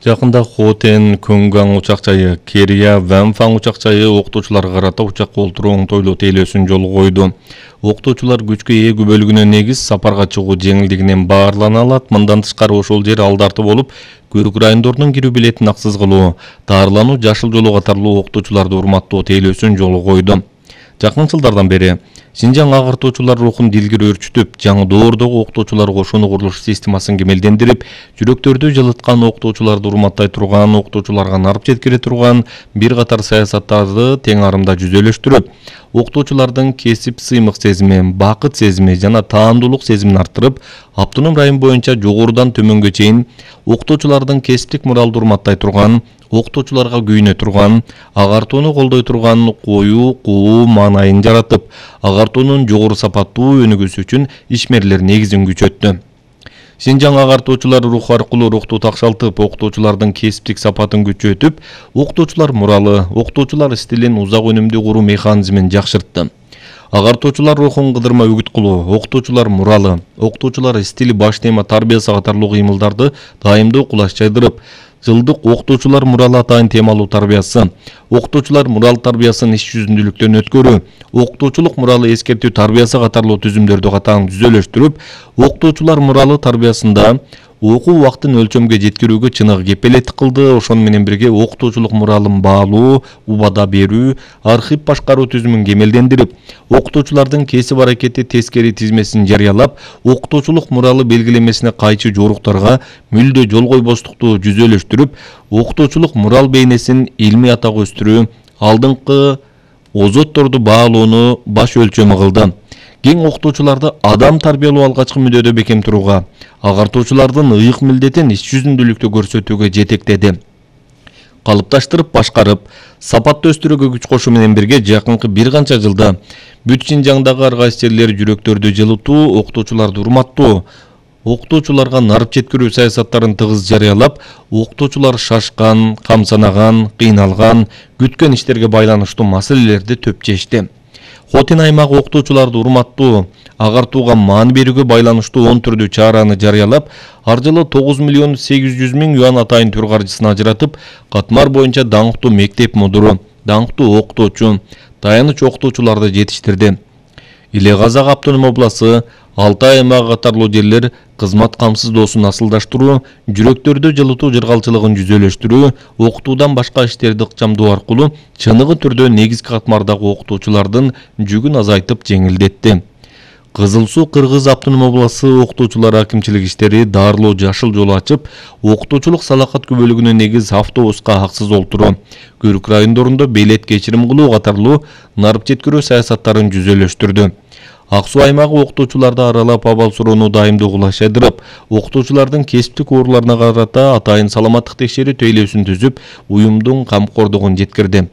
Жакында Хотен, Көнган учак жайы, Керия, Вэнфан учак жайы окутуучуларга карата учакка олтуруу оңтойлуу тейлөөсүн жолго койду. Окутуучулар күчкө ээ күбөлүгүнө негиз сапарга чыгуу жеңилдигинен баарлана алат. Мындан тышкары ошол жер алдарты болуп, Көрүк райондорунун кирүү билетин аксыз кылуу, даарылануу, жашыл жолу катарлуу окутуучуларды урматтоо тейлөөсүн жолго койду. Жакын жылдардан бери Синжаң агартуучулар рухун дилгири өрчүтүп, жаңы доордогу окутуучулар кошууну курулуш системасын кемелдендирип, жүрөктөрдү жылыткан, окутуучуларды урматтай турган, окутуучуларга нарып жеткире турган бир катар саясаттарды тең арымда жүзөлөштүрүп, окутуучулардын кесип сыймык сезими, бакыт сезими жана таандуулук сезимин арттырып, автоном район боюнча жогорудан төмөнгө чейин окутуучулардын кесиптик муралды урматтай турган, окутуучуларга күйүнө турган, агартууну колдой турган коюу, куу маанайын жаратып, агартуунун жогору сапаттуу өнүгүүсү үчүн ишмерлер негизин күчөттү. Синжаң агартуучулар рух аркылуу рухту такшалтып, окутуучулардын кесиптик сапатын күчөтүп, окутуучулар муралы, окутуучулар стилин узак өнүмдүү куруу механизмин жакшыртты. Агартуучулар рухун кыдырма үгүт кылуу, окутуучулар муралы, окутуучулар стили баш тема тарбиясы катарлуу кыймылдарды дайымдуу кулаш жайдырып, жылдык окутуучулар муралы атайын темалуу тарбиясы, окутуучулар мурал тарбиясын иш жүзүндүүлүктөн өткөрүү, окутуучулук муралы эскертүү тарбиясы катарлуу түзүмдөрдү катаң жүзөлөштүрүп, окутуучулар муралы тарбиясында окуу убактын өлчөмгө жеткирүүгө чыныгы кепелеттик кылды. Ошону менен бирге окутуучулук муралын баалуу, убада берүү, архив башкаруу түзүмүн кемелдендирип, окутуучулардын кесип аракети тескери тизмесин жарыялап, окутуучулук муралы белгилемесине кайчы жоруктарга мүлдө жол койбостукту жүзөлөштүрүп, окутуучулук мурал бейнесин илмий атак өстүрүү, алдыңкы озотторду баалоону баш өлчөмү кылды. Кең окутуучуларды адам тарбиялоо алгачкы мүддөдө бекем турууга, агартуучулардын ыйык милдетин иш жүзүндүүлүктө көрсөтүүгө жетектеди. Калыпташтырып, башкарып, сапатты өстүрүүгө күч кошуу менен бирге жакынкы бир канча жылда бүт Синжаңдагы ар кайсы жерлер жүрөктөрдү жылытуу, окутуучуларды урматтоо, окутуучуларга нарып жеткирүү саясаттарын тыгыз жарыялап, окутуучулар шашкан, камсанаган, кыйналган, күткөн иштерге байланыштуу маселелерди төп чечти. Хотен аймагы окутуучуларды урматтоо, агартууга маани берүүгө байланыштуу 10 түрдүү чараны жарыялап, ар жылы 9 миллион 800 миң юан атайын түр каржысын ажыратып, катмар боюнча даңктуу мектеп мудуру, даңктуу окутуучу, таяныч окутуучуларды жетиштирди. Иле Казак автоном областы, Алтай аймагы катарлуу жерлер кызмат камсыздоосун асылдаштыруу, жүрөктөрдү жылытуу жыргалчылыгын жүзөлөштүрүү, окутуудан башка иштерди ыкчамдоо аркылуу чыныгы түрдө негизги катмардагы окутуучулардын жүгүн азайтып жеңилдетти. Кызыл Суу Кыргыз автоном областы окутуучулар акимчилик иштери даарылоо жашыл жол ачып, окутуучулук салакат күбөлүгүнө негиз автобуска аксыз олтуруу, Көрүк райондорунда билет кечирим кылуу катарлуу нарып жеткирүү саясаттарын жүзөлөштүрдү. Ак Суу аймагы окутуучуларды аралап абал суроону дайымдуу кулаш жайдырып, окутуучулардын кесиптик ооруларына карата атайын саламаттык текшерүү тейлөөсүн түзүп, уюмдун камкордугун жеткирди.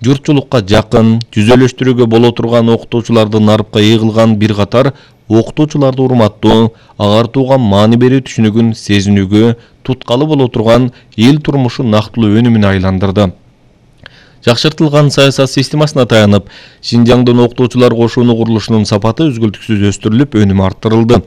Журтчулукка жакын, жүзөлөштүрүүгө боло турган окутуучуларды нарыпка ээ кылган бир катар окутуучуларды урматтоо, агартууга маани берүү түшүнүгүн сезинүүгө туткалы боло турган эл турмушу нактылуу өнүмүнө айландырды. Жакшыртылган саясат системасына таянып, Синжаңдын окутуучулар кошууну курулушунун сапаты үзгүлтүксүз өстүрүлүп, өнүмү арттырылды.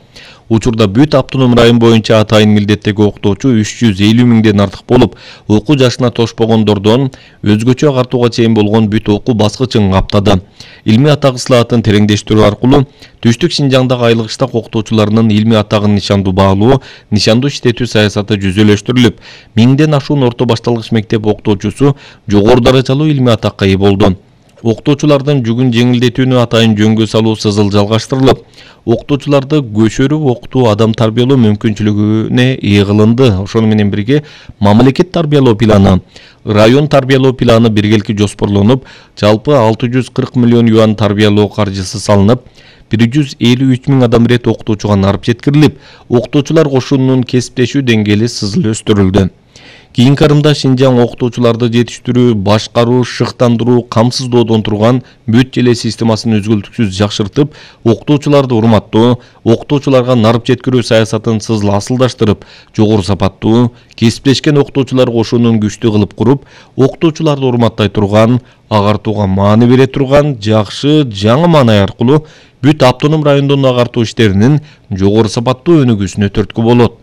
Учурда бүт автоном район боюнча атайын милдеттеги окутуучу 350 миңден артык болуп, окуу жашына тошпогондордон өзгөчө агартууга чейин болгон бүт окуу баскычын каптады. Илмий атак ысылаатын тереңдештирүү аркылуу Түштүк Синжаңдагы айлык иштак окутуучуларынын илмий атагын нишандуу баалоо, нишандуу иштетүү саясаты жүзөлөштүрүлүп, 1000ден ашуун орто башталгыч мектеп окутуучусу жогору даражалуу илмий атакка ээ болду. Окутуучулардын жүгүн жеңилдетүүнү атайын жөнгө салуу сызыл жалгаштырылып, окутуучуларды көшөрүп окутуу адам тарбиялоо мүмкүнчүлүгүнө ээ кылынды. Ошону менен бирге мамлекет тарбиялоо планы, район тарбиялоо планы биргеликти жоспорлонуп, жалпы 640 миллион юан тарбиялоо каржысы салынып, 153 миң адам ирет окутуучуга нарып жеткирилип, окутуучулар кошуунунун кесиптешүү деңгээли сызыл өстүрүлдү. Кийинки арымда Синжаң окутуучуларды жетиштирүү, башкаруу, шыктандыруу, камсыздоодон турган бүт эле системасын үзгүлтүксүз жакшыртып, окутуучуларды урматтоо, окутуучуларга нарып жеткирүү саясатын сызыл асылдаштырып, жогору сапаттуу, кесиптешкен окутуучулар кошуунун күчтүү кылып куруп, окутуучуларды урматтай турган, агартууга маани бере турган жакшы жаңы маанай аркылуу бүт автоном райондун агартуу иштеринин жогору сапаттуу өнүгүүсүнө түрткү болот.